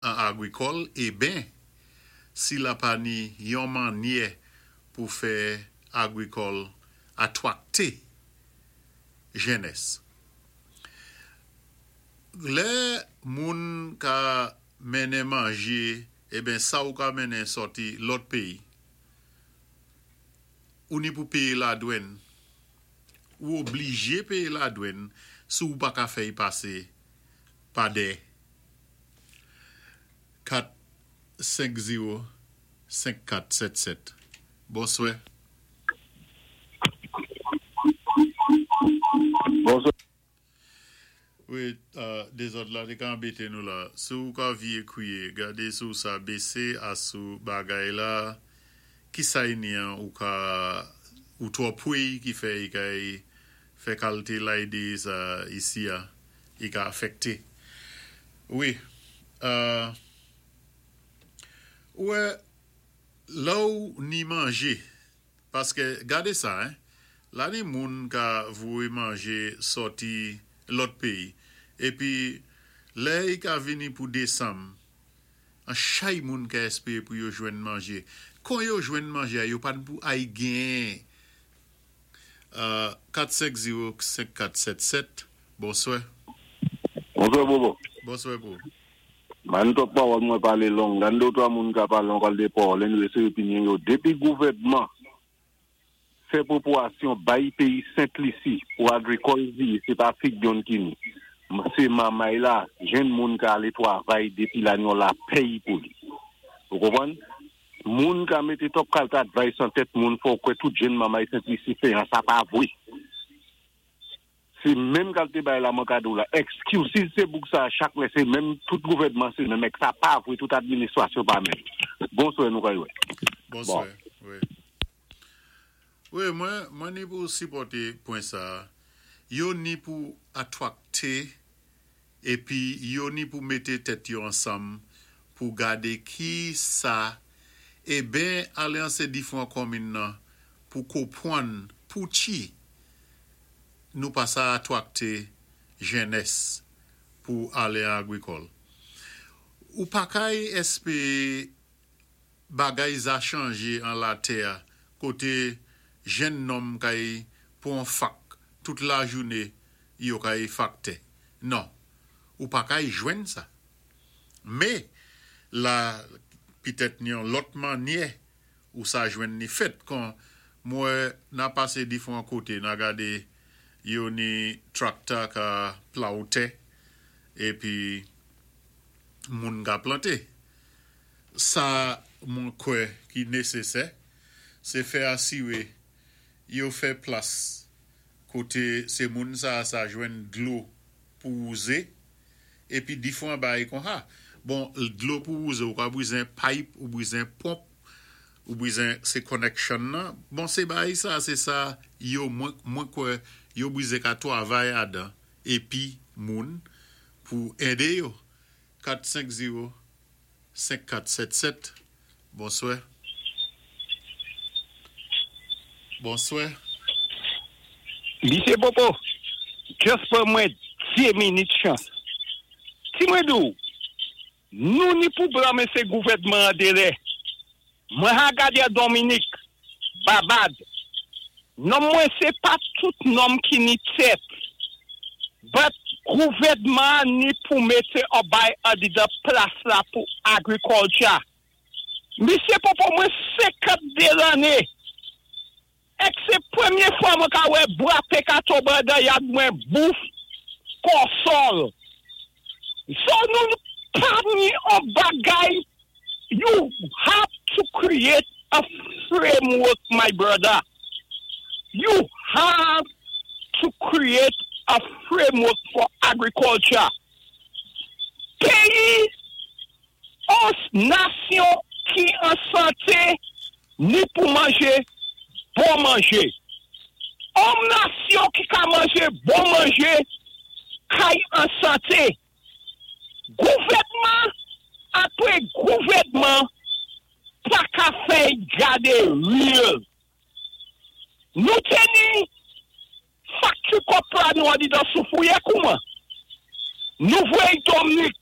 An agrikòl eben si la pa ni yon mannyè pou fè agrikòl atwakte jennès. Lè moun ka mennen manje eben sa ou ka mennen sòti lòt peyi ou ni pou peye ladwenn ou oblije peye ladwenn si ou pa ka fè y pase pa dè 4 5 0 5 4 7 7 Bonswè. Bonswè. Wi dezòd la te ka anbete nou la. Si w ka vye kriye gade si w sa bese a sou bagay la kisa y ni an ou ka ou twò pwey ki fè y kay fè kalte layde sa isi a. Li ka afekte wi. Ou wè lè w ni manje paske gade sa hein la ni moun ka voye manje sòti lòt peyi epi lè li ka vini pou desanm an chay moun ka espere pou yo jwenn manje kon yo jwenn manje a yo pa n pou ay gen 4 5 0 5 4 7 7 Bonswè. Bonswè Bobo. Bonswè pou ou. Bann twòp pawòl mwen pale long gann 2 ou 3 moun ka pale on kalite pawòl anyway se opinyon yo depi gouvèdman fè pwopoasyon bay peyi sent lisi pou agrikòl di se pa fig yonn ki ni se mamay la jenn moun ka ale twavay depi la yon lapèy pou li ou konprann Moun ka mete twòp kalte advice nan tèt moun fè w kwè tout jenn manmay Sentlisi feyan sa pa vwe. Se menm kalte bagay la mwen ka di w la. Excuses se bouk sa chak lè se menm tout gouvènman se menm ek sa pa vwe tout administrasyon pa menm. Bonswè nou kay wè. Bonswè wi. Wi mwen mwen ni pou sipòte pwen sa. Yo ni pou atwakte Epi yo ni pou mete tèt yo ansanm pou gade ki sa eben ale an se difran kòmin nan pou kopwann pouchi nou pa sa atwakte jennès pou ale an agrikòl. Ou pa kay espee bagay za chanje an latè kote jenn nonm kay pwan fak tout lajoune yo kay faktè non ou pa kay jwenn sa me la pitèt ni yon lòt mannyè ou sa jwenn ni fèt kon mwen na pase difran kote na gade yo ni trakta ka plow tè epi moun ka plante sa mwen kwè ki nesesè se fè asire yo fè plas kote se moun sa sa jwenn dlo pou wouze epi difran bagay konsa bon dlo pou wouze ou ka brizen pipe ou brizen ponp ou brizen se connection nan bon se bagay sa se sa yo mwen mwen kwè yo brize ka twavay adan epi moun pou ede yo 4 5 0 5 4 7 7 Bonswè Bonswè. Misye Popo, just pran mwen 2 minit chans. Si mwen di w, nou ni pou blame se gouvèdman an delè. Mwen ha gade Dominik, Babad. Nonm mwen se pa tout nonm ki ni tèt. But gouvèdman an ni pou mete on bay andidan plas la pou agriculture. Misye Popo mwen 52 lanne ek se premye fwa mwen ka wè bwa pe ka tonbe andan yad mwen bouf kòsòl. So nou pa ni on bagay you have to create a framework my brother you have to create a framework for agriculture peyi on nasyon ki an sante ni pou manje bon manje. On nasyon ki ka manje bon manje kay an sante. Gouvèdman apre gouvèdman pa ka fè gade real. Nou te ni factory kopra nou andidan soufouye kouman? Nou voye Dominique.